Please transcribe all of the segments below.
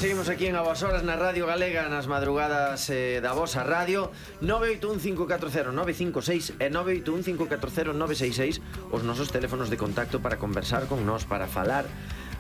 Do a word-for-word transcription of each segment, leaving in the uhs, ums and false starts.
seguimos aquí en A Boas Horas na Radio Galega, nas madrugadas eh, da vosa radio. Nove oito un cinco catro cero nove cinco seis e nove oito un cinco catro cero nove seis seis, os nosos teléfonos de contacto para conversar con nós, para falar,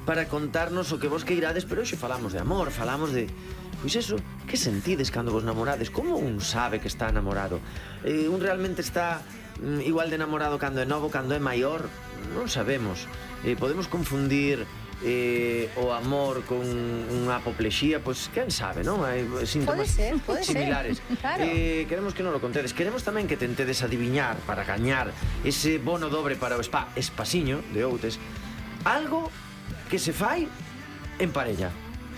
para contarnos o que vos queirades. Pero hoxe falamos de amor, falamos de... Pois eso, que sentides cando vos namorades? Como un sabe que está namorado? Eh, un realmente está mm, igual de namorado cando é novo, cando é maior? Non sabemos. Eh, podemos confundir eh, o amor con unha apoplexía, pois quen sabe, non? Hai síntomas pode ser, pode similares. Ser, claro. eh, Queremos que non lo contedes. Queremos tamén que tentedes adiviñar para gañar ese bono dobre para o spa Espasiño de Outes. Algo que se fai en parella.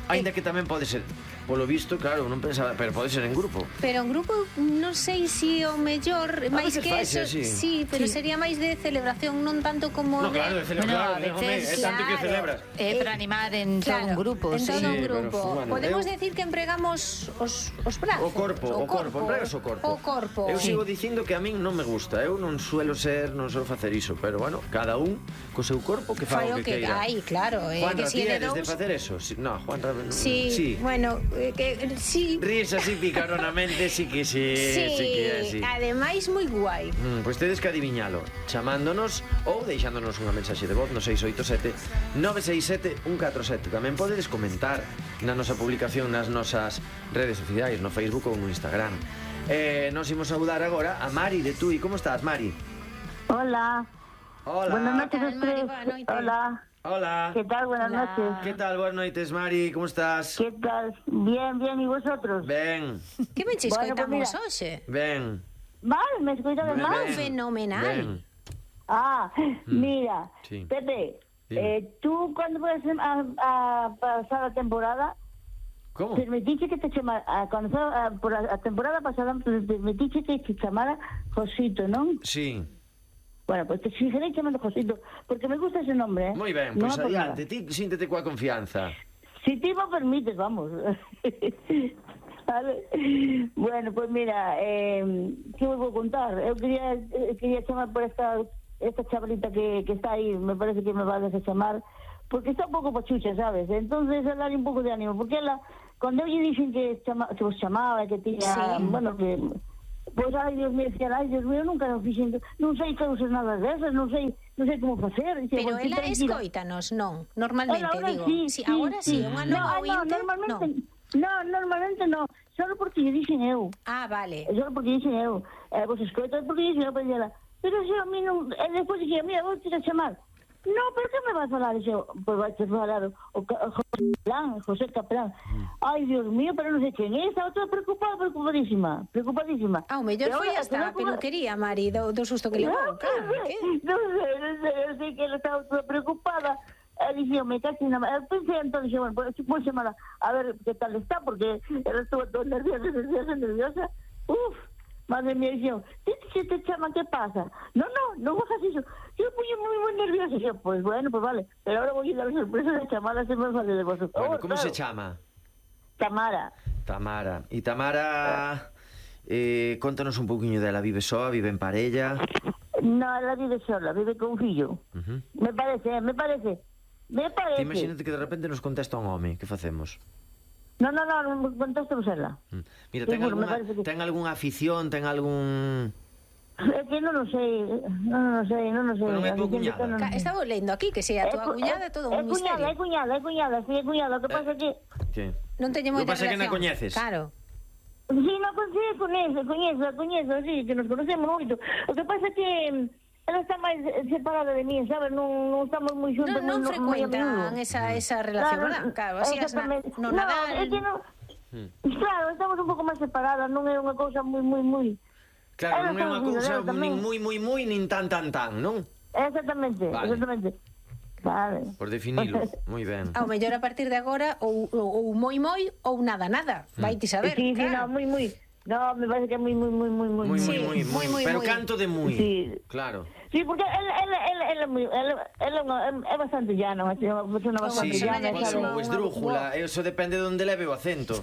Aínda que tamén pode ser, polo visto, claro, non pensaba, pero pode ser en grupo. Pero en grupo non sei se o mellor, máis que eso, sí. sí, pero sí. Sería máis de celebración, non tanto como no, claro, de celebrar, bueno, claro, é tanto que celebras. É para animar en claro, todo un grupo, en todo sí. un grupo. Pero, bueno, podemos eu... decir que empregamos os, os brazos. O corpo, o, o corpo, empregas o corpo. O corpo. Eu sí. sigo dicindo que a min non me gusta, eu non suelo ser, non suelo facer iso, pero bueno, cada un co seu corpo que faga o que, que queira. Aí, claro, eh, Juan, que si ti é eres de dous... de facer eso? Si, no, Juan, no, sí, sí. Bueno, eh, que sí. Ríes así picaronamente, sí que sí, sí, sí que é así. Ademais moi guai. Mm, pois tedes que adiviñalo chamándonos ou deixándonos unha mensaxe de voz no seis oito sete nove seis sete un catro sete. Tamén podedes comentar na nosa publicación nas nosas redes sociais, no Facebook ou no Instagram. Eh, nos imos saudar agora a Mari de Tui. Como estás, Mari? Hola. Hola. Buenas noches a Mari, ustedes. buenas noches. Hola. Hola. ¿Qué tal? Buenas Hola. noches. ¿Qué tal? Buenas noites, Mari. ¿Cómo estás? ¿Qué tal? Bien, bien. ¿Y vosotros? Ben, Que ben che Bueno, escoitamos pues mira. hoxe? ben. Vale, ¿me escuchas Ben, mal? ben, fenomenal. ben. Ah, mira. Sí. Pepe, Dime. eh, ¿tú cuándo vas a, a pasar la temporada? ¿Cómo? Permitiste que te llamara, a, cuando fue a, por la, a temporada pasada, permitiste que te llamara Josito, ¿no? Sí. Bueno, pues te seguiré llamando Josito, porque me gusta ese nombre, ¿eh? Moi ben, No pois por nada. adiante, ti síntete coa confianza. Si te lo permites, vamos. Vale. Bueno, pues mira, eh, ¿qué os voy a contar? Yo quería, eh, quería llamar por esta esta chavalita que, que está ahí, me parece que me va a desamar, porque está un poco pachucha, ¿sabes? Entonces, a darle un poco de ánimo, porque ela, cuando ellos dicen que, chama, que os chamaba, que tenía, Sí. bueno, que... Pois, ai, Dios mío, decía, ai, Dios mío, nunca non fixen, non sei causas nada desas, non sei, non sei como facer. Dicía, Pero "Bueno, ela tranquila". escoítanos, non, normalmente, Ela ahora digo. sí, sí, sí, agora sí, sí. unha No, nova ah, no, ointe, normalmente, non. no, normalmente no, solo porque lle dixen eu. Ah, vale. Solo porque dixen eu. Eh, vos escoitas porque dixen eu, pero ela, pero se a mí non, e despois dixen, mira, vou te a chamar. No, pero que me vas a falar? Dixen, pois vai te falar o, o, o José Capelán, José Capelán. Ai, Dios mío, pero non sei quen é, estaba toda preocupada, preocupadísima, preocupadísima. Ah, o mellor E foi ahora, hasta a como- peluquería, Mari, do, do susto que levou, claro. que- Non sei, non sei, eu sei que ela estaba toda preocupada. E dixen, me cacho na... Eu pensei, entón, dixen, bueno, pues, vou chamar a ver que tal está, porque ela estuvo toda nerviosa, nerviosa, nerviosa. Uf, madre mía, dixen, ti se te chama, que pasa? No, no, non fagas iso. Eu fui moi, moi nerviosa. Dixen, pues bueno, pues vale. Pero ahora vou a dar a sorpresa de chamar a se me fale de vosotros. Bueno, Oh, como se claro. chama? Tamara. Tamara. E Tamara, eh, contanos un pouquiño dela. Vive soa, vive en parella? No, ela vive sola, vive con un fillo. Uh-huh. Me parece, eh, me parece. Me parece. Ti imagínate que de repente nos contesta un home, que facemos? No, no, no, non contestamos ela. Mm. Mira, ten Seguro, me algunha, parece que- ten algunha afición, ten algún... É que non o sei, non o sei, non o sei. Pero non é A tua mí sempre cuñada. non o Ca- sei. Estaba lendo aquí que se a tua É cu- cuñada é todo un É cuñada, é misterio. cuñada, é cuñada, sí, é cuñada. O que pasa é que... Que? Non teño Lo que moita pasa é que na relación. coñeces. Claro. Sí, non coñece, coñece, coñece, coñece, sí, que nos conocemos moito. O que pasa é que ela está máis separada de mí, sabes? Non, non estamos moi xuntos. Non, non moi- moi a frecuentan menudo. esa, esa relación, Claro, ¿verdad? Claro, así as na, exactamente. no No, Nadal. é que non... Claro, estamos un pouco máis separadas, non é unha cousa moi, moi, moi... Claro, Ela non é está unha unido, cousa ela tamén. nin moi, moi, moi, nin tan, tan, tan, non? Exactamente, Vale. exactamente. Vale. Por definilo, moi ben. Ao mellor a partir de agora ou, ou, ou moi moi ou nada nada. Vai ti saber. Sí, sí, no, claro. muy, muy. No, me parece que es muy, muy, muy, muy, muy. Moi, Sí, moi, moi, moi, moi, moi, pero moi. canto de moi. Sí. Claro. Sí, porque él, él, él, él, es muy, él, él es una- es bastante llano, es una persona bastante Sí, sí, Persona llana, pode ser llana, un ¿sabes? esdrújula, eso depende de onde leve o acento.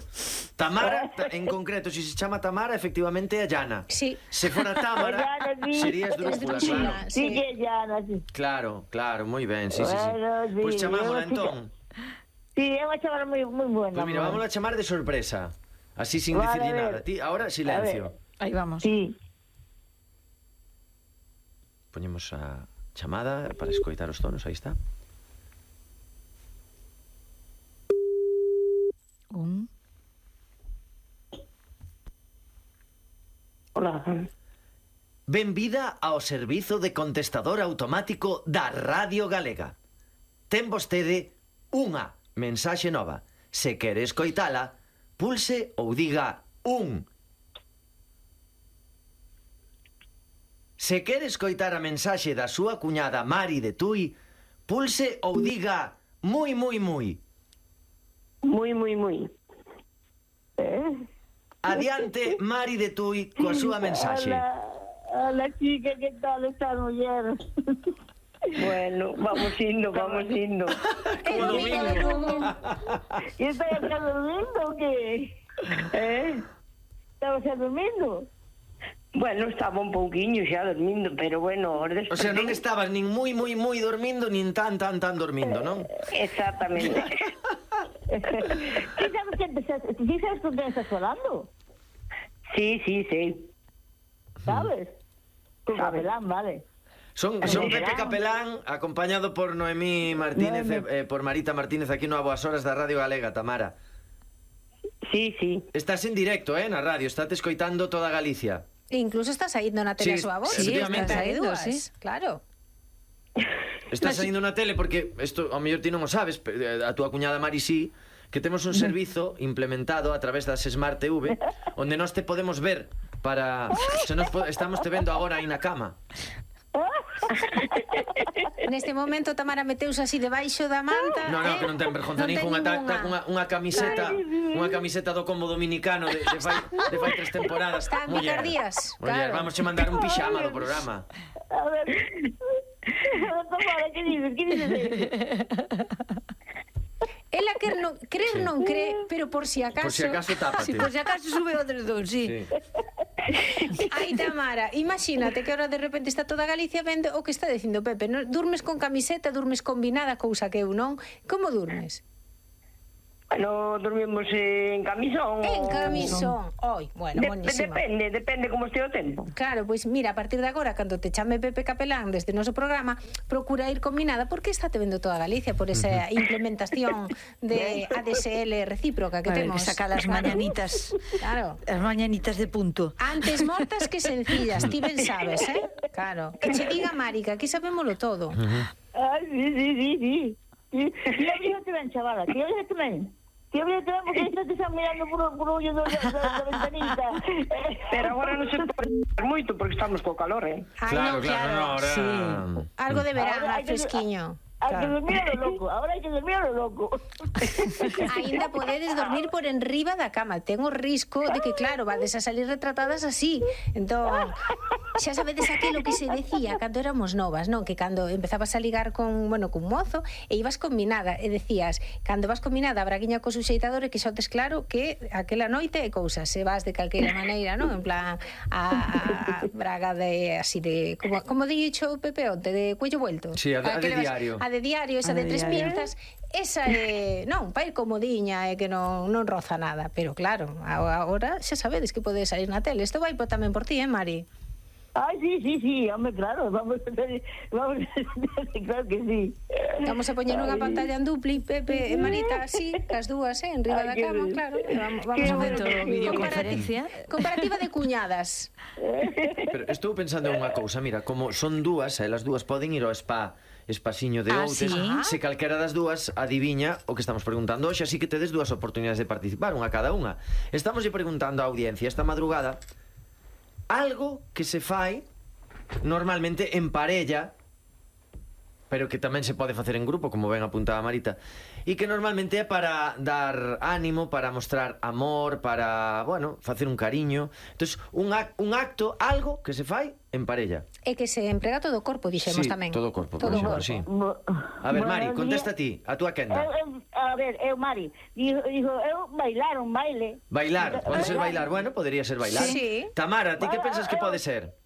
Tamara, ta- en concreto, si se chama Tamara, efectivamente é llana. Sí. Se fora Tamara, Llana, sí. sería esdrújula, Esdrúxula. claro. Sí, Sí. que es llana, sí. Claro, claro, moi ben, sí, sí, sí. Bueno, sí, Pois chamámola eu, chica. entón. Sí, é unha chamada moi moi buena. Pois mira, vamos a chamar de sorpresa. Así sin Vale, decirle a ver. nada. Ti, ahora silencio. Aí vamos. Sí. Poñemos a chamada para escoitar os tonos, aí está. Un. Hola. Benvida ao servizo de contestador automático da Radio Galega. Ten vostede unha mensaxe nova. Se quere escoitala, pulse ou diga un. Se quere escoitar a mensaxe da súa cuñada Mari de Tui, pulse ou diga moi, moi, moi. Muy, muy, muy. Eh? Adiante, Mari de Tui, coa súa mensaxe. Hola, hola chica, ¿qué tal estás, mujer? Bueno, vamos indo, vamos indo. Como domingo. ¿Y estás acá durmiendo o qué? ¿Eh? ¿Estabas ya durmiendo? Bueno, estaba un pouquiño xa dormindo, pero bueno... O sea, non estabas nin moi, moi, moi dormindo, nin tan, tan, tan dormindo, non? Exactamente. ¿Sí sabes que te, ¿sí sabes con quién estás hablando? Sí, sí, sí. ¿Sabes? Con Capelán, vale. Son, son Pepe Capelán, acompañado por Noemí Martínez, eh, por Marita Martínez, aquí no A Boas Horas da Radio Galega, Tamara. Sí, sí. Estás en directo, eh, na radio, estáte escoitando toda Galicia. Incluso está saindo na tele a Sí, súa voz. efectivamente. Está Saindo, dúas, sí. Claro. Estás saindo na tele porque, isto ao mellor ti non o sabes, pero, eh, a túa cuñada Mari sí, que temos un servizo implementado a través das Smart T V, onde nós te podemos ver para... Se nos po- estamos te vendo agora aí na cama. Neste momento Tamara meteuse así debaixo da manta. No, no, eh? que non ten vergonza Non ten ninguna, ta, ningunha. ta, unha, unha camiseta, unha camiseta do combo dominicano de, de, fai, de fai tres temporadas. Está en Muller, Picardías, muller, claro. vamos a mandar un pixama do programa. A ver... Tamara, ¿qué dices? ¿Qué dices? Ela quer non, crer Sí. non cree, pero por si acaso... Por si acaso tápate. Si por si acaso sube outro dos, sí. Sí. Ai, Tamara, imagínate que ahora de repente está toda Galicia vendo o que está dicindo Pepe, non? Durmes con camiseta, durmes combinada, cousa que eu non. Como durmes? Bueno, dormimos en camisón. En o- camisón. Oi, bueno, De- buenísima. depende, depende como este o tempo. Claro, pois mira, a partir de agora, cando te chame Pepe Capelán deste noso programa, procura ir combinada, porque está te vendo toda Galicia por esa implementación de A D S L recíproca que Vale, temos. que saca las Claro. mañanitas. Claro. As mañanitas de punto. Antes mortas que sencillas, ti ben sabes, eh? Claro. Que che diga Mari, que aquí sabémoslo todo. Ay, sí, sí, sí, sí. Sí, sí, abrígate ben, chavala, sí, abrígate ben. Sí, abrígate ben, porque aí te están mirando por, por ollo da, da, da ventanita. Pero agora non se pode moito, porque estamos co calor, eh? Ai, Claro, non, claro, no, ahora... sí. Algo de verano, Ahora hai que- fresquiño. Hai que Claro. dormir a lo loco, ahora hai que dormir a lo loco. Ainda podedes dormir por enriba da cama. Ten o risco de que, claro, vades a salir retratadas así. Entón, xa sabedes aquilo que se decía cando éramos novas, non? Que cando empezabas a ligar con, bueno, cun mozo e ibas combinada e decías, cando vas combinada a braguiña co suxeitador e que xotes claro que aquela noite é cousa, se vas de calqueira maneira, non? En plan, a, a braga de, así de, como, como dicho Pepe onte, de cuello vuelto. Sí, a de- a de que levas- diario. A de diario, esa A de de tres diario. pinzas, esa é, non, vai comodiña e que non, non roza nada, pero claro, agora xa sabedes que podes salir na tele. Isto vai po, tamén por ti, eh, Mari? Ay, sí, sí, sí, hombre, claro, vamos a hacer, vamos a hacer, claro que sí. Vamos a poñer unha pantalla en dupli, Pepe e Marita, así, cas dúas, eh, en riba Ay, da qué cama, bien. claro. e Vamos, vamos Qué a ver bueno. Videoconferencia. Comparativa de cuñadas. Pero estou pensando en unha cousa, mira, como son dúas, elas dúas poden ir ao spa espasiño de Ah, Outes, sí? se calquera das dúas adiviña o que estamos preguntando hoxe, así que tedes dúas oportunidades de participar, unha cada unha. Estamos preguntando á audiencia esta madrugada algo que se fai normalmente en parella, pero que tamén se pode facer en grupo, como ben apuntaba Marita, e que normalmente é para dar ánimo, para mostrar amor, para, bueno, facer un cariño. Entonces, un, ac un acto, algo que se fai en parella. E que se emprega todo o corpo, dixemos Sí, tamén. todo o corpo, por Todo o exemplo, corpo. sí. Bo- A ver, Mari, Bueno, contesta día- ti, a túa quenda. Eu, eu, a ver, eu, Mari, dijo, dijo, eu bailar un baile. Bailar, pode ser bailar, bueno, podría ser bailar. Sí. Tamara, ti que Bueno, pensas que eu- pode ser?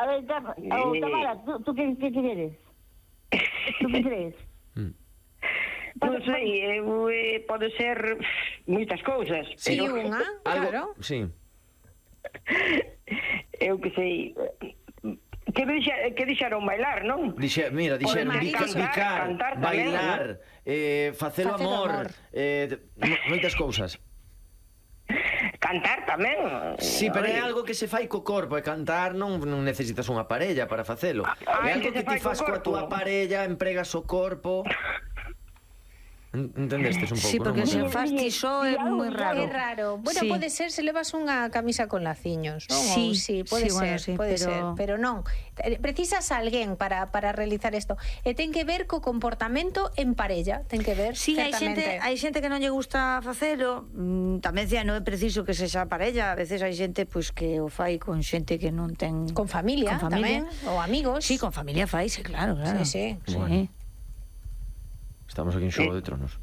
A ver, Tam- oh, Tamara, ¿tú, tú qué, qué quieres? ¿Tú qué crees? Mm. Non sei, eu, eh, pode ser moitas cousas. Sí, pero- unha, claro. Algo, sí. Eu que sei... Que, dixa, que dixeron bailar, non? Dixe, mira, dixeron Oi, bica, marido, bicar, cantar tamén, bailar, eh, facelo Facelo amor, amor. eh, mo- moitas cousas. Cantar tamén. Sí, pero é Oi. algo que se fai co corpo, e cantar non, non necesitas unha parella para facelo. Ah, É que algo que se ti fai co fas coa corpo. túa parella, empregas o corpo. En- Entendestes un pouco, Sí, porque non? se Moneo? faz ti só é moi raro. É raro. Bueno, Sí. pode ser se levas unha camisa con laciños, non? Sí, Ou sí, pode sí, ser, bueno, sí, pode pero- ser, pero non. Eh, Precisas a alguén para, para realizar isto. E ten que ver co comportamento en parella, ten que ver, Sí, hai xente, certamente. hai xente que non lle gusta facelo, mm, tamén dicía, non é preciso que sexa parella, a veces hai xente pois que o fai con xente que non ten Con familia, con familia. tamén, ou amigos. Sí, con familia faise, claro, claro. Sí, sí. sí. Bueno. Estamos aquí en Xogo de Tronos.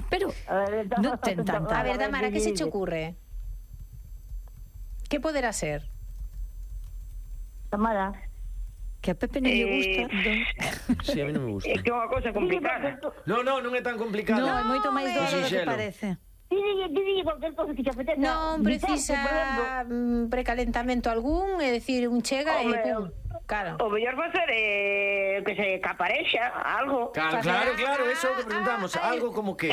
Pero A ver, non ten tanta. A ver, Damara, que se che ocurre? Que poderá ser? Tamara. Que a Pepe non lle Eh, gusta. Sí, a mí non me gusta. É que é unha cousa complicada. No, no, non é tan complicado. Non, é moito máis doce do que Sinxelo. parece. Dile, dile cualquier cosa que te apetezca. Non Guitarra, precisa por ejemplo. mm, precalentamento algún, é dicir, un chega e Home, pum. Claro. O mellor facer eh, que se caparexa, algo. Claro, claro, claro, eso é o que preguntamos. Algo como que...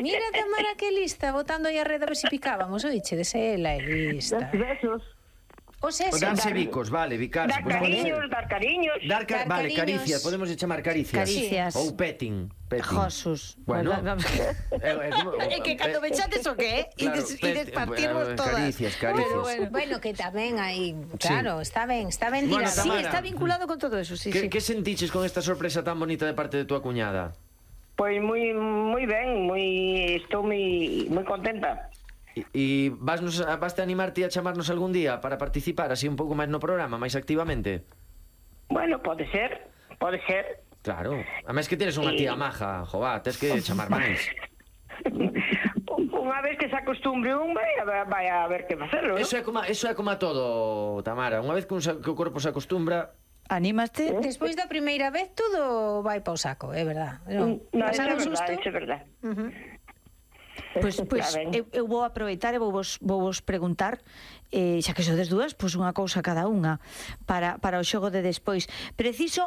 Mira, Tamara, que lista, botando aí a rede a ver se picábamos. Oiche, de ela é lista. Dar besos. O sea, Pues darse bicos, vale, bicarse. Dar Pues pode ser. cariños, dar cariños. Dar, ca- Dar vale, cariños. caricias, podemos chamar caricias. Caricias. Ou petting. petting. Josus. Bueno. Bueno, É, é como- É que cando me chates o que, Claro, ides, pet- ides partirnos eh, todas. caricias, caricias. Pero bueno. bueno, que tamén aí, claro, está ben, está ben Bueno, tirado. Sí, Tamara. está vinculado con todo eso, sí, Que, sí. que sentiches con esta sorpresa tan bonita de parte de tua cuñada? Pois moi moi ben, moi estou moi moi contenta. E, e vasnos, vaste animarte a chamarnos algún día para participar así un pouco máis no programa, máis activamente? Bueno, pode ser, pode ser. Claro. A máis que tienes unha tía maja, jová, tens que chamar máis. Unha vez que se acostumbre un, vai a, vai a ver que facelo, ¿no? Eso é como, eso é como a todo, Tamara. Unha vez que, un, sa- que o corpo se acostumbra... Anímaste? Despois da primeira vez todo vai pa o saco, é verdad. Non, No, eso pasar é un verdad, susto. eso é verdad. Ujú. Pois, pois Está ben. eu, eu vou aproveitar e vou vos, vou vos preguntar, eh, xa que sodes dúas, pois unha cousa cada unha para, para o xogo de despois. Preciso